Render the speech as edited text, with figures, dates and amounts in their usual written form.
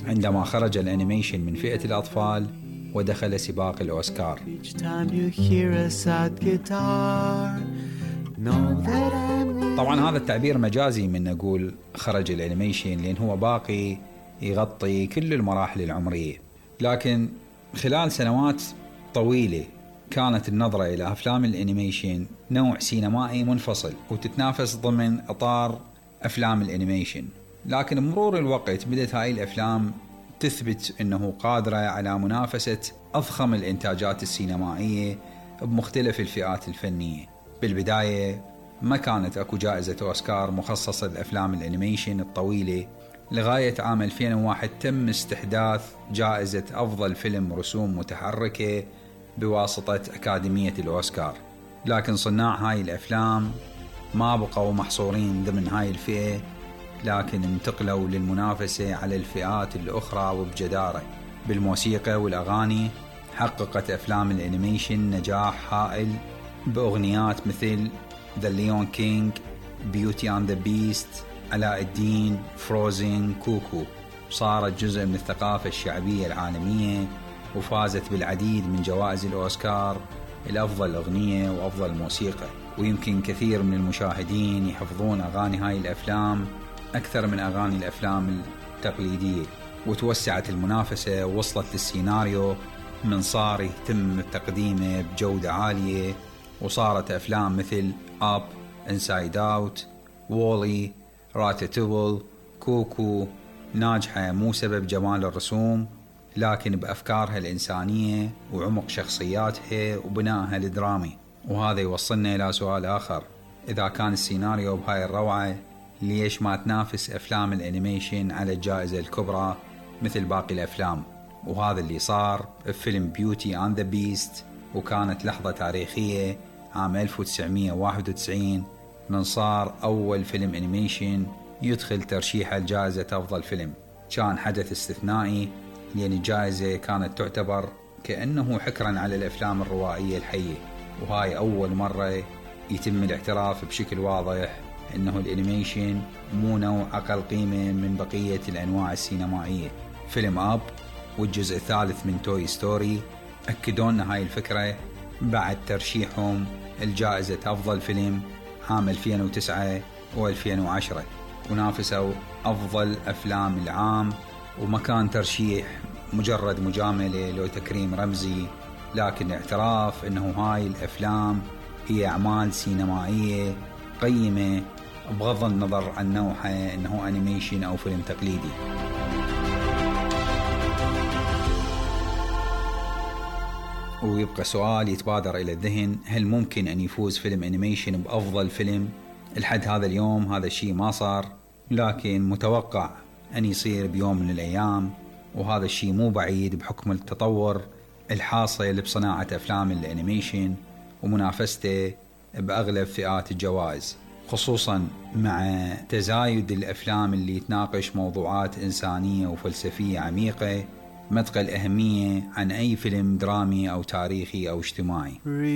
عندما خرج الأنيميشن من فئة الأطفال ودخل سباق الأوسكار. طبعا هذا التعبير مجازي من نقول خرج الأنيميشن، لأن هو باقي يغطي كل المراحل العمرية، لكن خلال سنوات طويلة كانت النظرة إلى أفلام الأنيميشن نوع سينمائي منفصل وتتنافس ضمن إطار أفلام الأنيميشن. لكن بمرور الوقت بدأت هاي الأفلام تثبت أنه قادرة على منافسة أضخم الإنتاجات السينمائية بمختلف الفئات الفنية. بالبداية ما كانت أكو جائزة أوسكار مخصصة لأفلام الأنيميشن الطويلة، لغاية عام 2001 تم استحداث جائزة أفضل فيلم رسوم متحركة بواسطة أكاديمية الأوسكار. لكن صناع هاي الأفلام ما بقوا محصورين ضمن هاي الفئة، لكن انتقلوا للمنافسة على الفئات الأخرى وبجدارة. بالموسيقى والأغاني حققت أفلام الأنيميشن نجاح هائل بأغنيات مثل The Lion King, Beauty and the Beast, علاء الدين، فروزن، كوكو. صارت جزء من الثقافة الشعبية العالمية وفازت بالعديد من جوائز الأوسكار الأفضل أغنية وأفضل موسيقى. ويمكن كثير من المشاهدين يحفظون أغاني هاي الأفلام أكثر من أغاني الأفلام التقليدية. وتوسعت المنافسة ووصلت للسيناريو من صار يتم تقديمه بجودة عالية، وصارت أفلام مثل أب، إنسايد أوت، وولي، راتاتويل، كوكو ناجحة مو سبب جمال الرسوم، لكن بأفكارها الإنسانية وعمق شخصياتها وبنائها الدرامي. وهذا يوصلنا إلى سؤال آخر: إذا كان السيناريو بهاي الروعة، ليش ما تنافس أفلام الأنيميشن على الجائزة الكبرى مثل باقي الأفلام؟ وهذا اللي صار بفيلم بيوتي أند ذا بيست، وكانت لحظة تاريخية عام 1991 من صار أول فيلم أنيميشن يدخل ترشيح الجائزة أفضل فيلم. كان حدث استثنائي، لأن الجائزة كانت تعتبر كأنه حكرا على الأفلام الروائية الحية، وهاي أول مرة يتم الاعتراف بشكل واضح أنه الأنيميشن مو نوع أقل قيمة من بقية الأنواع السينمائية. فيلم أب والجزء الثالث من توي ستوري أكدوا لنا هاي الفكرة بعد ترشيحهم الجائزة أفضل فيلم عام 2009 و2010، ونافسوا أفضل أفلام العام. وما كان ترشيح مجرد مجاملة لو تكريم رمزي، لكن اعتراف أنه هاي الأفلام هي أعمال سينمائية قيمة بغض النظر عن نوعها، أنه أنيميشن أو فيلم تقليدي. ويبقى سؤال يتبادر إلى الذهن: هل ممكن أن يفوز فيلم أنيميشن بأفضل فيلم؟ لحد هذا اليوم هذا الشيء ما صار، لكن متوقع أن يصير بيوم من الأيام، وهذا الشيء مو بعيد بحكم التطور الحاصل بصناعة أفلام الأنيميشن ومنافسته بأغلب فئات الجوائز، خصوصا مع تزايد الأفلام اللي تناقش موضوعات إنسانية وفلسفية عميقة ما تقل أهمية عن أي فيلم درامي أو تاريخي أو اجتماعي.